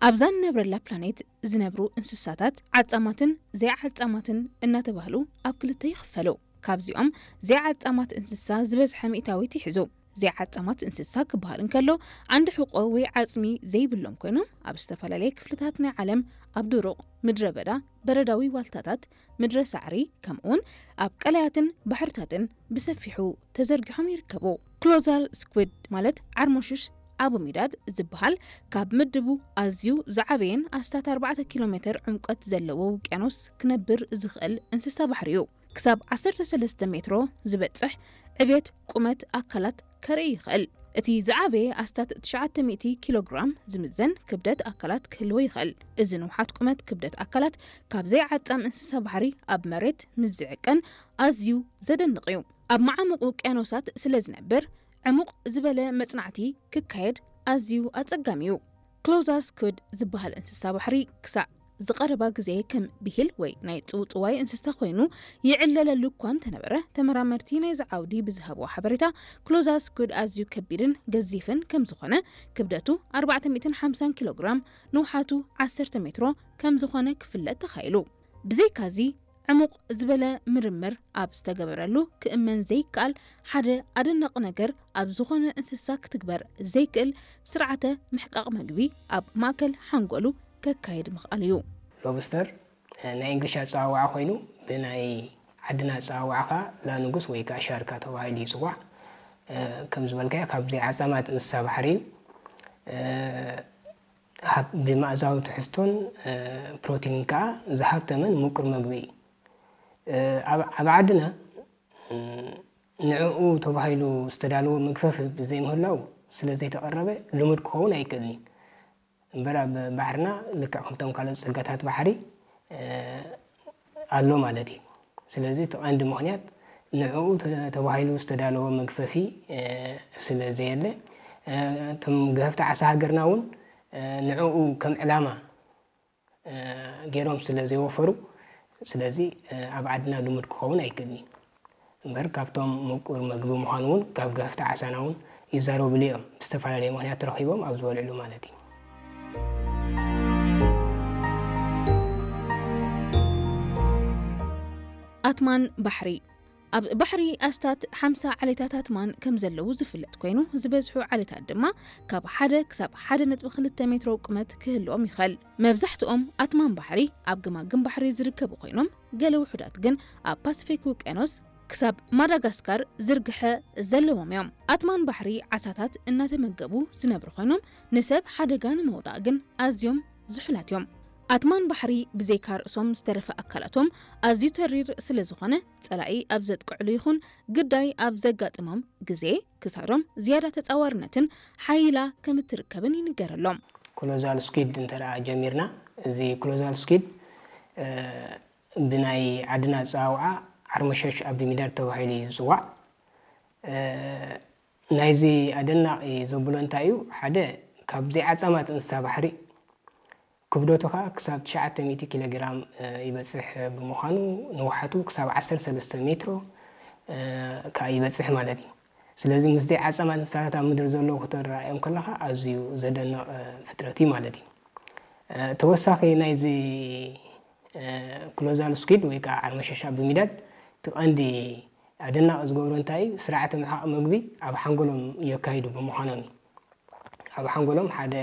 ኣብዛ ንነብረላ ፕላኔት ዝነብሩ እንስሳታት ዓጻማትን ዘይዓጻማትን እናተባህሉ ኣብ ክልተ ይኽፈሉ። ካብዚኦም ዘይዓጻማት እንስሳ ዝበዝሐ ሚእታዊት ይሕዙ። ዘይዓጻማት እንስሳ ክበሃል እንከሎ ዓንዲ ሕቆ ወይ ዓጽሚ ዘይብሎም ኮይኖም ኣብ ዝተፈላለየ ክፍልታት ናይ ዓለም ኣብ ድሩቕ ምድረ በዳ፣ በረዳዊ ዋልታታት፣ ምድረ ሳዕሪ ከምኡውን ኣብ ቀላያትን ባሕርታትን ብሰፊሑ ተዘርጊሖም ይርከቡ። ክሎዛል ስኩድ ማለት ዓርሞሽሽ ኣቦሚዳድ ዝበሃል ካብ ምድቡ ኣዝዩ ዝዓበየን ኣስታት ኣርባዕተ ኪሎ ሜትር ዕምቆት ዘለዎ ውቅያኖስ ክነብር ዝኽእል እንስሳ ባሕሪ እዩ። ክሳብ ዓሰርተ ሰለስተ ሜትሮ ዝበጽሕ ዕቤት ቁመት ኣካላት ከርኢ ይኽእል። እቲ ዝዓበየ ኣስታት ትሽዓተ ሚእቲ ኪሎ ግራም ዝምዘን ክብደት ኣካላት ክህልዎ ይኽእል። እዚ ንውሓት ቁመት ክብደት ኣካላት ካብ ዘይዓጻም እንስሳ ባሕሪ ኣብ መሬት ምስ ዝዕቀን ኣዝዩ ዘደንቕ እዩ። ኣብ መዓሙቕ ውቅያኖሳት ስለ ዝነብር ዕሙቕ ዝበለ መጽናዕቲ ክካየድ ኣዝዩ ኣጸጋሚ እዩ። ክሎዛል ስኩድ ዝበሃል እንስሳ ባሕሪ ክሳዕ ዝቐረባ ግዜ ከም ብሂል ወይ ናይ ጽውጽዋይ እንስሳ ኮይኑ ይዕለለሉ እኳ እንተነበረ፣ ተመራመርቲ ናይዚ ዓውዲ ብዝሃብዎ ሓበሬታ ክሎዛል ስኩድ ኣዝዩ ከቢድን ገዚፍን ከም ዝኾነ፣ ክብደቱ ኣርባዕተ ሚእትን ሓምሳን ኪሎ ግራም፣ ንውሓቱ ዓሰርተ ሜትሮ ከም ዝኾነ ክፍለጥ ተኻኢሉ። ብዘይካዚ ዕሙቕ ዝበለ ምርምር ኣብ ዝተገበረሉ ክእመን ዘይከኣል ሓደ ኣደናቒ ነገር ኣብ ዝኾነ እንስሳ ክትግበር ዘይክእል ስርዓተ ምሕቃቕ መግቢ ኣብ ማእከል ሓንጎሉ ከካይድ ምኽኣል እዩ። ሎብስተር ናይ እንግሊሽ ኣፀዋውዓ ኮይኑ ብናይ ዓድና ኣፀዋውዓ ከዓ ላንጉስ ወይ ከዓ ሻርካ ተባሂሉ ይፅዋዕ። ከም ዝበልካዮ ካብ ዘይዓፃማት እንስሳ ባሕሪ እዩ። ብመኣዛዊ ትሕዝቶን ፕሮቲንን ከዓ ዝሃብተመን ምቁር መግቢ እዩ። ኣብ ዓድና ንዕኡ ተባሂሉ ዝተዳለወ መግፈፊ ብዘይምህላው ስለ ዘይተቐረበ ልሙድ ክኸውን ኣይክእልን እዩ። እምበር ኣብ ባሕርና ልክዕ ከምቶም ካልኦት ፀጋታት ባሕሪ ኣሎ ማለት እዩ። ስለዚ እቲ ቀንዲ ምኽንያት ንዕኡ ተባሂሉ ዝተዳለወ መግፈፊ ስለ ዘየለ፣ እቶም ገፈፍቲ ዓሳ ሃገርና እውን ንዕኡ ከም ዕላማ ገይሮም ስለ ዘይወፈሩ፣ ስለዚ ኣብ ዓድና ልሙድ ክኸውን ኣይክእልን እዩ። እምበር ካብቶም ምቁር መግቢ ምዃኑ እውን ካብ ገፈፍቲ ዓሳና እውን ይዛረብሉ እዮም። ብዝተፈላለየ ምኽንያት ተረኺቦም ኣብ ዝበልዕሉ ማለት እዩ። ኣትማን ባሕሪ። ኣብ ባሕሪ ኣስታት ሓምሳ ዓሌታት ኣትማን ከም ዘለዉ ዝፍለጥ ኮይኑ፣ ዝበዝሑ ዓሌታት ድማ ካብ ሓደ ክሳብ ሓደ ነጥቢ ክልተ ሜትሮ ቁመት ክህልዎም ይኽእል። መብዛሕትኦም ኣትማን ባሕሪ ኣብ ገማግም ባሕሪ ዝርከቡ ኮይኖም፣ ገለ ውሑዳት ግን ኣብ ፓስፊክ ውቅያኖስ ክሳብ ማዳጋስካር ዝርግሐ ዘለዎም እዮም። ኣትማን ባሕሪ ዓሳታት እናተመገቡ ዝነብሩ ኮይኖም፣ ንሰብ ሓደጋ ንምውዳቕ ግን ኣዝዮም ዝሑላት እዮም። ኣትማን ባሕሪ ብዘይካ ርእሶም ዝተረፈ ኣካላቶም ኣዝዩ ተሪር ስለ ዝኾነ፣ ጸላኢ ኣብ ዘጥቅዕሉ ይኹን ግዳይ ኣብ ዘጋጥሞም ግዜ ክሳዶም ዝያዳ ተጻዋርነትን ሓይላ ከም እትርከብን ይንገረሎም። ኮሎዛል ስኩድ እንተ ደኣ ጀሚርና፣ እዚ ኮሎዛል ስኩድ ብናይ ዓድና ኣጸዋውዓ ዓርመሸሽ ኣቢሚዳድ ተባሂሉ እዩ ዝጽዋዕ። ናይዚ ኣደናቒ ዘብሎ እንታይ እዩ? ሓደ ካብ ዘይዓጻማት እንስሳ ባሕሪ ክብደቱ ከዓ ክሳብ ትሽዓተ ሚእቲ ኪሎ ግራም ይበፅሕ ብምዃኑ ንውሓቱ ክሳብ ዓሰርተ ሰለስተ ሜትሮ ከዓ ይበፅሕ ማለት እዩ። ስለዚ ምስ ዘይዓጻማት እንስሳታት ኣብ ምድሪ ዘለዉ ከተረኣዮም ከለኻ ኣዝዩ ዘደንቕ ፍጥረት እዩ ማለት እዩ። ተወሳኺ ናይዚ ኮሎዛል ስኩድ ወይ ከዓ ዓርመሸሽ ኣቢሚዳድ እቲ ቀንዲ ኣደናቒ ዝገብሮ እንታይ እዩ? ስርዓተ ምሕቃቕ መግቢ ኣብ ሓንጎሎም የካይዱ ብምዃኖም እዩ። ኣብ ሓንጎሎም ሓደ